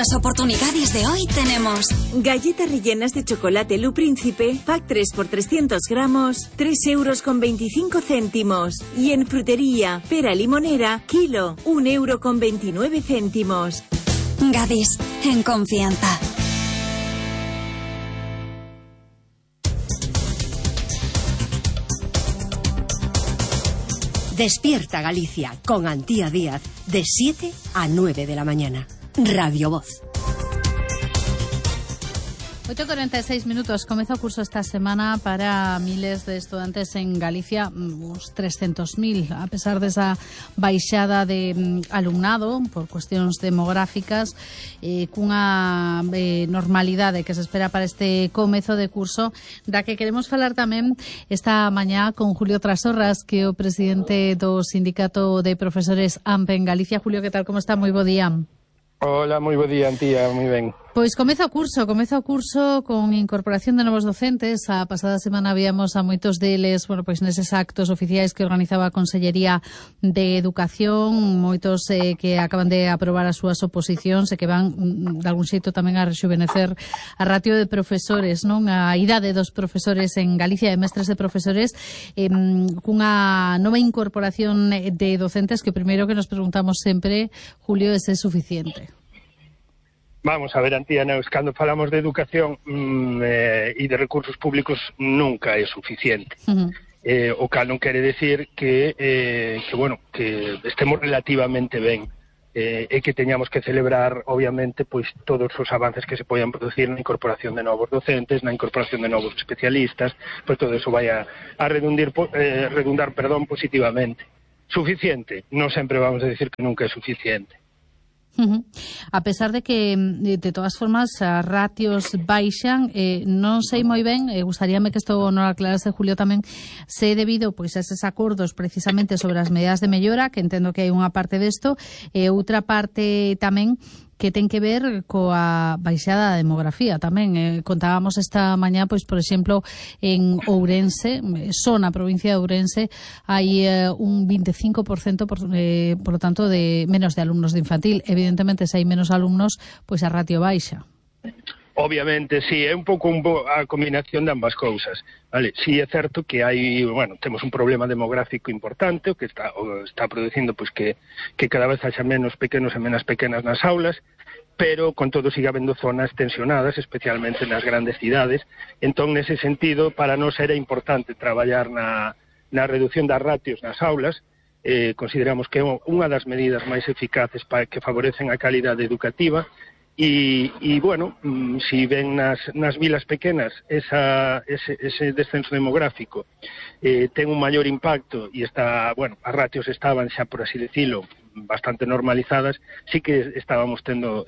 las oportunidades de hoy tenemos galletas rellenas de chocolate Lu Príncipe, pack 3 por 300 gramos, 3,25 €. Y en frutería, pera limonera, kilo, 1,29 €. Gadis, en confianza. Despierta Galicia con Antía Díaz de 7 a 9 de la mañana. Radio Voz. 8:46. Comeza o curso esta semana para miles de estudantes en Galicia, uns 300.000, a pesar desa baixada de alumnado por cuestións demográficas, cunha normalidade que se espera para este comezo de curso, da que queremos falar tamén esta mañá con Julio Trasorras, que é o presidente do Sindicato de Profesores AMPE en Galicia. Julio, que tal, como está? Moi bo día. Hola, moi bo día, Antía, moi ben. Pois comeza o curso con incorporación de novos docentes. A pasada semana víamos a moitos deles, pois neses actos oficiais que organizaba a Consellería de Educación, moitos que acaban de aprobar as súas oposicións e que van de algún xeito tamén a rexuvenecer a ratio de profesores, non? A idade dos profesores en Galicia, de mestres de profesores, cunha nova incorporación de docentes que o primeiro que nos preguntamos sempre, Julio, é se é suficiente. Vamos a ver, Antía, cando falamos de educación e de recursos públicos nunca é suficiente. O cal non quere decir que estemos relativamente ben e que teñamos que celebrar, obviamente, pois todos os avances que se poidan producir na incorporación de novos docentes, na incorporación de novos especialistas, pois todo eso vai a redundar positivamente. Suficiente? Non sempre vamos a decir que nunca é suficiente. A pesar de que, de todas formas, as ratios baixan, non sei moi ben, gustaríame que isto non aclarase, Julio, tamén, se é debido pois a eses acordos precisamente sobre as medidas de mellora, que entendo que hai unha parte desto, e outra parte tamén que ten que ver coa baixada da demografía tamén. Contábamos esta mañá, pois, por exemplo, en Ourense, só na provincia de Ourense, hai un 25%, por lo tanto, de menos de alumnos de infantil. Evidentemente, se hai menos alumnos, pois a ratio baixa. Obviamente, sí, é un pouco a combinación de ambas cousas, vale? Sí, é certo que hai, temos un problema demográfico importante, o que está producindo pois que cada vez haxa menos pequenos e menos pequenas nas aulas, pero con todo sigue habendo zonas tensionadas, especialmente nas grandes cidades. Entón, nese sentido, para nós era importante traballar na reducción das ratios nas aulas. Consideramos que é unha das medidas máis eficaces para que favorecen a calidade educativa. E si ven nas vilas pequenas ese descenso demográfico ten un maior impacto e está, as ratios estaban xa, por así decirlo, bastante normalizadas, sí que estábamos tendo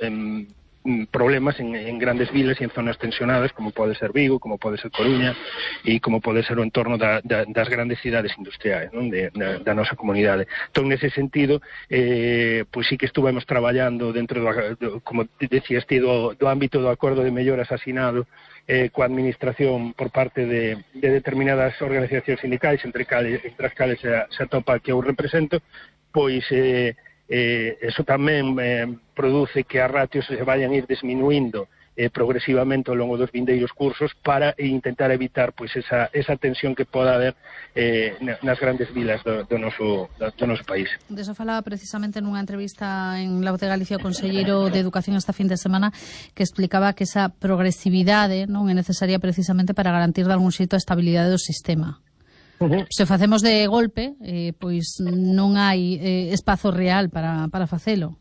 problemas en grandes vilas e en zonas tensionadas, como pode ser Vigo, como pode ser Coruña e como pode ser o entorno das grandes cidades industriais, non? Da nosa comunidade. Entón, nese sentido, pois sí que estuvemos traballando dentro como decías ti, do ámbito do acordo de melloras asinado coa administración por parte de determinadas organizacións sindicais, entre as cales se atopa que eu represento, pois eso tamén produce que as ratios se vayan ir disminuindo progresivamente ao longo dos vindeiros cursos para intentar evitar pois esa tensión que poda haber nas grandes vilas do noso país. De eso falaba precisamente nunha entrevista en La Voz de Galicia o conselleiro de Educación esta fin de semana, que explicaba que esa progresividade non é necesaria precisamente para garantir de algún xeito a estabilidade do sistema. Se facemos de golpe, pois non hai espazo real para facelo.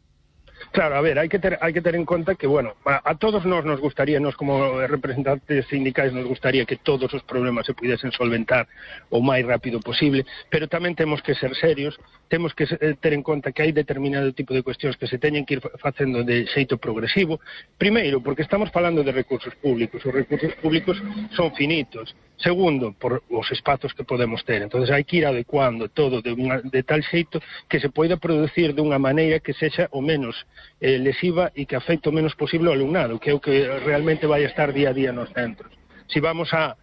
Claro, a ver, hai que ter en conta que, a todos nos gustaría, nos como representantes sindicais, nos gustaría que todos os problemas se pudiesen solventar o máis rápido posible, pero tamén temos que ser serios, temos que ter en conta que hai determinado tipo de cuestións que se teñen que ir facendo de xeito progresivo. Primeiro, porque estamos falando de recursos públicos, os recursos públicos son finitos. Segundo, por os espazos que podemos ter. Entonces hai que ir adecuando todo de tal xeito que se poida producir dunha maneira que sexa o menos lesiva e que afecte o menos posible ao alumnado, que é o que realmente vai estar día a día nos centros. Si vamos a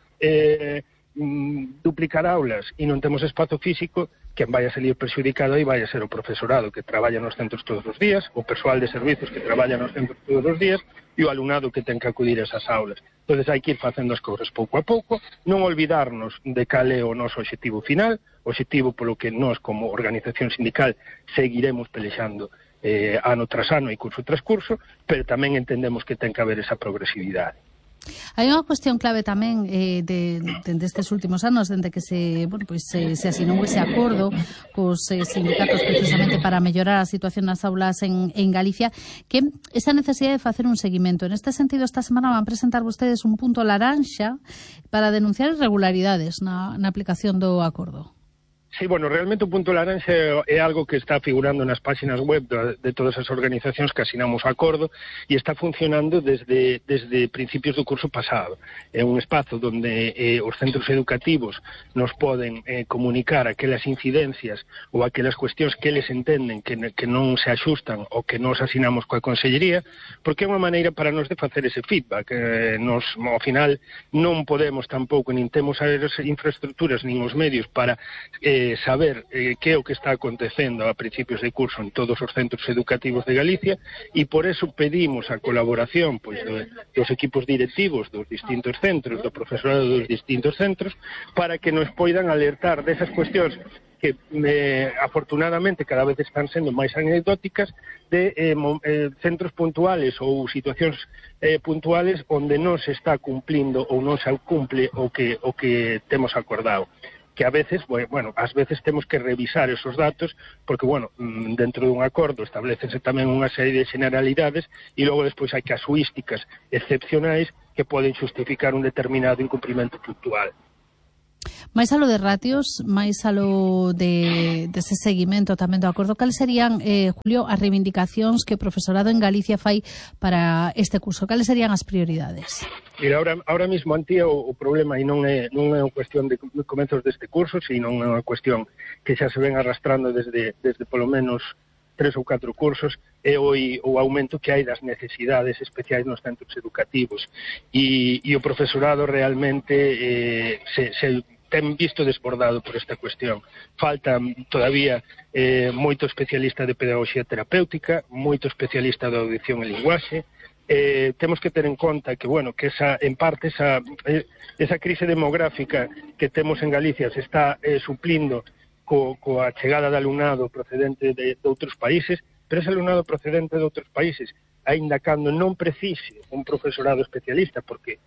duplicar aulas e non temos espazo físico, quen vai a salir perxudicado aí vai a ser o profesorado que traballa nos centros todos os días, o persoal de servizos que traballa nos centros todos os días e o alumnado que ten que acudir a esas aulas. Entón, hai que ir facendo as cousas pouco a pouco, non olvidarnos de cal é o noso obxectivo final, o obxectivo polo que nós, como organización sindical, seguiremos pelexando ano tras ano e curso tras curso, pero tamén entendemos que ten que haber esa progresividade. Hai unha cuestión clave tamén destes últimos anos, dende que se asinou ese acordo cos sindicatos precisamente para mellorar a situación nas aulas en Galicia, que esa necesidade de facer un seguimento. En este sentido, esta semana van presentar vostedes un punto laranxa para denunciar irregularidades na aplicación do acordo. Sí, bueno, realmente o punto laranxa é algo que está figurando nas páxinas web de todas as organizacións que asinamos o acordo e está funcionando desde principios do curso pasado. É un espazo onde os centros educativos nos poden comunicar aquelas incidencias ou aquelas cuestións que eles entenden que non se axustan ou que nos asinamos coa Consellería, porque é unha maneira para nos de facer ese feedback. Nos, ao final, non podemos tampouco, nin temos as infraestructuras nin os medios para saber que é o que está acontecendo a principios de curso en todos os centros educativos de Galicia e por eso pedimos a colaboración dos equipos directivos dos distintos centros, do profesorado dos distintos centros, para que nos poidan alertar desas cuestións que afortunadamente cada vez están sendo máis anecdóticas de centros puntuales ou situacións puntuales onde non se está cumplindo ou non se cumple o que temos acordado. Que a veces, bueno, ás veces temos que revisar esos datos, porque, bueno, dentro dun acordo establecense tamén unha serie de generalidades e logo despois hai casuísticas excepcionais que poden justificar un determinado incumprimento puntual. Mais alo de ratios, máis alo dese seguimento tamén do acordo, cales serían, Julio, as reivindicacións que o profesorado en Galicia fai para este curso? Cales serían as prioridades? Mira, ahora mismo, Antía, o problema e non é unha cuestión de comezos deste curso, sino é unha cuestión que xa se ven arrastrando desde polo menos 3 ou 4 cursos, é o aumento que hai das necesidades especiais nos centros educativos. E o profesorado realmente se ten visto desbordado por esta cuestión. Falta todavía moito especialista de pedagogía terapéutica, moito especialista de audición e linguaxe. Temos que ter en conta que, bueno, que en parte esa crise demográfica que temos en Galicia se está suplindo coa chegada de alumnado procedente de outros países, pero ese alumnado procedente de outros países, aínda cando non precise un profesorado especialista, porque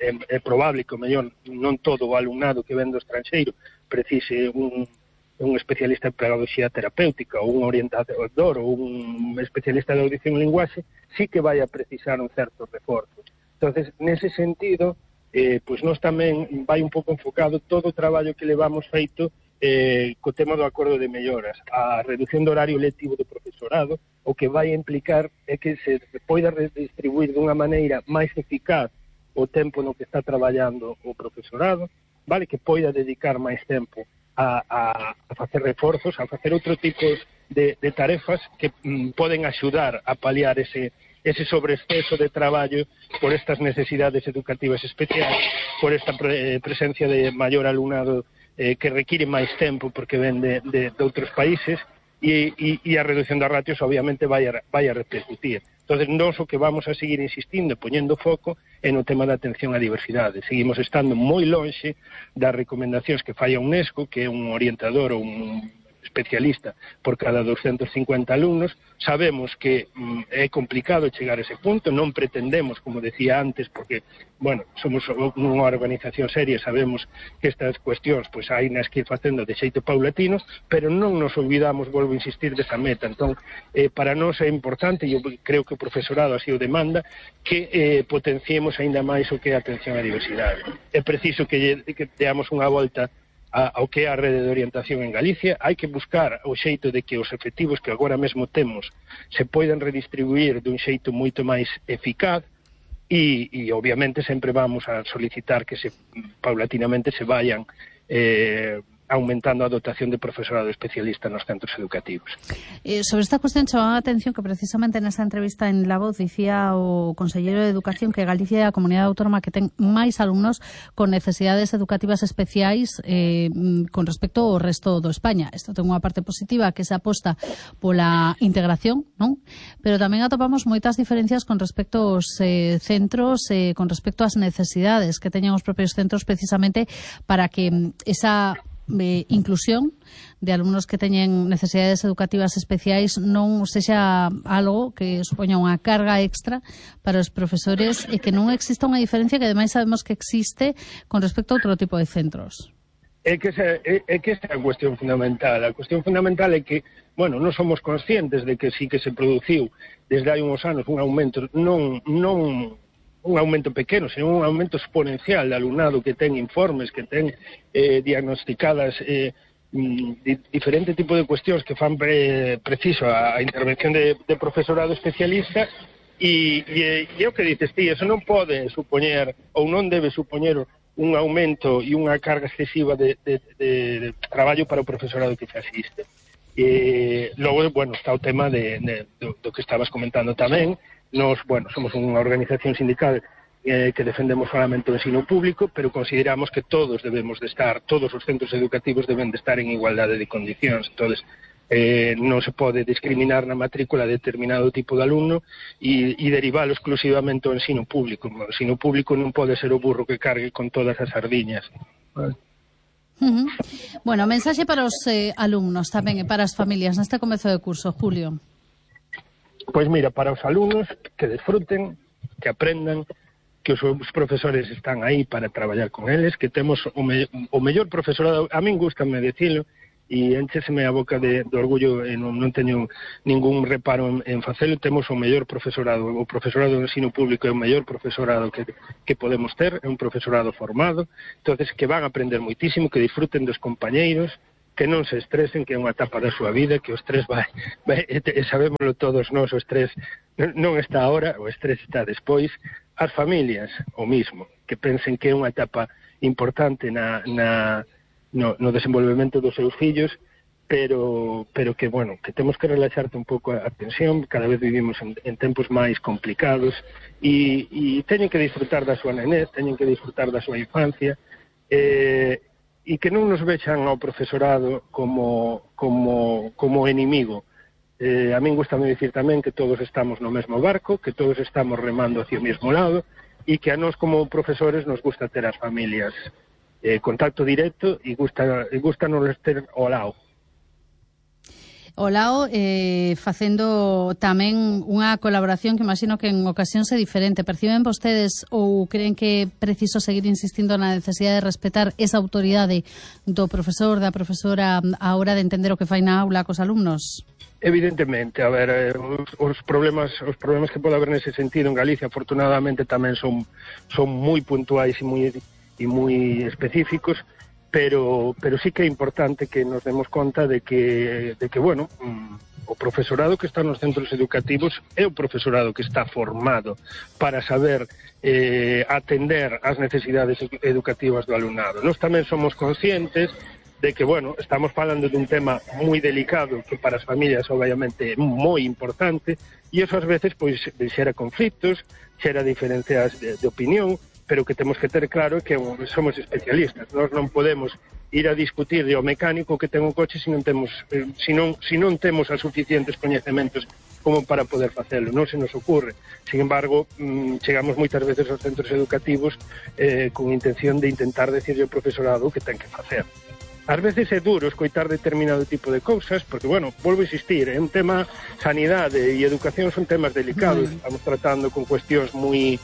é probable que o mellor non todo o alumnado que ven do estranxeiro precise un especialista en pedagogía terapéutica ou un orientador ou un especialista de audición e linguaxe, sí que vai a precisar un certo reforzo. Entonces, nese sentido, pois nós tamén vai un pouco enfocado todo o traballo que levamos feito co tema do acordo de melloras, a reducción do horario lectivo do profesorado, o que vai implicar é que se poida redistribuir dunha maneira máis eficaz o tempo no que está traballando o profesorado, vale, que poida dedicar máis tempo a facer reforzos, a facer outro tipo de tarefas que poden axudar a paliar ese sobreexceso de traballo por estas necesidades educativas especiais, por esta presencia de maior alumnado que require máis tempo porque ven de outros países e a reducción das ratios obviamente vai a repercutir. Entonces, nós o que vamos a seguir insistindo, poñendo foco, é no tema da atención á diversidade. Seguimos estando moi lonxe das recomendacións que fai a UNESCO, que é un orientador ou un especialista por cada 250 alumnos. Sabemos que é complicado chegar a ese punto, non pretendemos, como decía antes, porque, bueno, somos unha organización seria, sabemos que estas cuestións pois hai nas que ir facendo de xeito paulatino, pero non nos olvidamos, volvo a insistir, desa meta. Entón, para nós é importante, e eu creo que o profesorado así o demanda, que potenciemos aínda máis o que é a atención á diversidade. É preciso que deamos unha volta ao que é a rede de orientación en Galicia. Hai que buscar o xeito de que os efectivos que agora mesmo temos se poidan redistribuir dun xeito moito máis eficaz e obviamente sempre vamos a solicitar que paulatinamente se vayan aumentando a dotación de profesorado especialista nos centros educativos. Sobre esta cuestión chamaba a atención que precisamente nesa entrevista en La Voz dicía o conselleiro de Educación que Galicia é a comunidade autónoma que ten máis alumnos con necesidades educativas especiais con respecto ao resto do España. Isto ten unha parte positiva que se aposta pola integración, non? Pero tamén atopamos moitas diferencias con respecto aos centros, con respecto ás necesidades que teñan os propios centros precisamente para que esa inclusión de alumnos que teñen necesidades educativas especiais non sexa algo que supoña unha carga extra para os profesores e que non exista unha diferencia que ademais sabemos que existe con respecto a outro tipo de centros. É que esa é a cuestión fundamental. A cuestión fundamental é que, bueno, non somos conscientes de que sí que se produciu desde hai uns anos un aumento, non un aumento pequeno, sino un aumento exponencial de alumnado que ten informes, que ten diagnosticadas diferente tipo de cuestións que fan preciso a intervención de profesorado especialista e o que dices ti, eso non pode supoñer ou non debe supoñer un aumento e unha carga excesiva de traballo para o profesorado que se asiste. Logo, bueno, está o tema do que estabas comentando tamén. Nos, bueno, somos unha organización sindical que defendemos solamente o ensino público, pero consideramos que todos debemos de estar, todos os centros educativos deben de estar en igualdade de condicións. Entonces, non se pode discriminar na matrícula determinado tipo de alumno e derivalo exclusivamente ao ensino público. O ensino público non pode ser o burro que cargue con todas as sardiñas. Vale. Bueno, mensaxe para os alumnos tamén e para as familias neste comezo de curso, Julio. Pois mira, para os alumnos que desfruten, que aprendan, que os profesores están aí para traballar con eles, que temos o mellor profesorado, a min gústame decilo, e enchéseme a boca de orgullo, e non teño ningún reparo en facelo, temos o mellor profesorado, o profesorado do ensino público é o mellor profesorado que podemos ter, é un profesorado formado, entonces que van a aprender moitísimo, que disfruten dos compañeiros, que non se estresen, que é unha etapa da súa vida, que o estrés vai sabémoslo todos nós, o estrés non está ahora, o estrés está despois. As familias, o mismo, que pensen que é unha etapa importante no desenvolvemento dos seus fillos, pero que, bueno, que temos que relaxarte un pouco a tensión, cada vez vivimos en tempos máis complicados, e teñen que disfrutar da súa nenez, teñen que disfrutar da súa infancia, e que non nos vexan ao profesorado como enemigo. A min gustame dicir tamén que todos estamos no mesmo barco, que todos estamos remando hacia o mesmo lado e que a nós como profesores nos gusta ter as familias contacto directo e gusta nos ter ao lado. O lado, facendo tamén unha colaboración que imagino que en ocasións é diferente. Perciben vostedes ou creen que é preciso seguir insistindo na necesidade de respetar esa autoridade do profesor, da profesora a hora de entender o que fai na aula cos alumnos? Evidentemente, a ver, os problemas que pode haber nese sentido en Galicia, afortunadamente tamén son moi puntuais e moi específicos, pero sí que é importante que nos demos conta de que bueno, o profesorado que está nos centros educativos é o profesorado que está formado para saber atender as necesidades educativas do alumnado. Nós tamén somos conscientes de que, bueno, estamos falando dun tema moi delicado que para as familias obviamente é moi importante e eso ás veces pois xera conflitos, xera diferencias de opinión, pero que temos que ter claro que somos especialistas. Nós non podemos ir a discutir de o mecánico que ten un coche se non temos as suficientes coñecementos como para poder facelo. Non se nos ocurre. Sin embargo, chegamos moitas veces aos centros educativos con intención de intentar decirle ao profesorado o que ten que facer. Ás veces é duro escoitar determinado tipo de cousas, porque, bueno, volvo a insistir, é un tema, sanidade e educación son temas delicados, estamos tratando con cuestións moi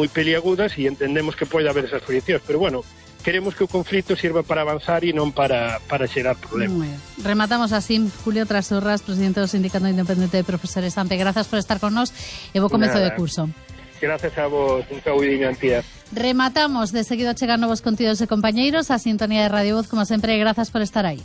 peliagudas e entendemos que pode haber esas friccións, pero, bueno, queremos que o conflito sirva para avanzar e non para xerar problemas. Rematamos así. Julio Trasorras, presidente do Sindicato Independente de Profesores AMPE, grazas por estar con nós e bo comezo de curso. Gracias a vos, un saúdiño, Antía. Rematamos, de seguido chegar novos contidos e compañeiros, a sintonía de Radio Voz, como sempre, grazas por estar aí.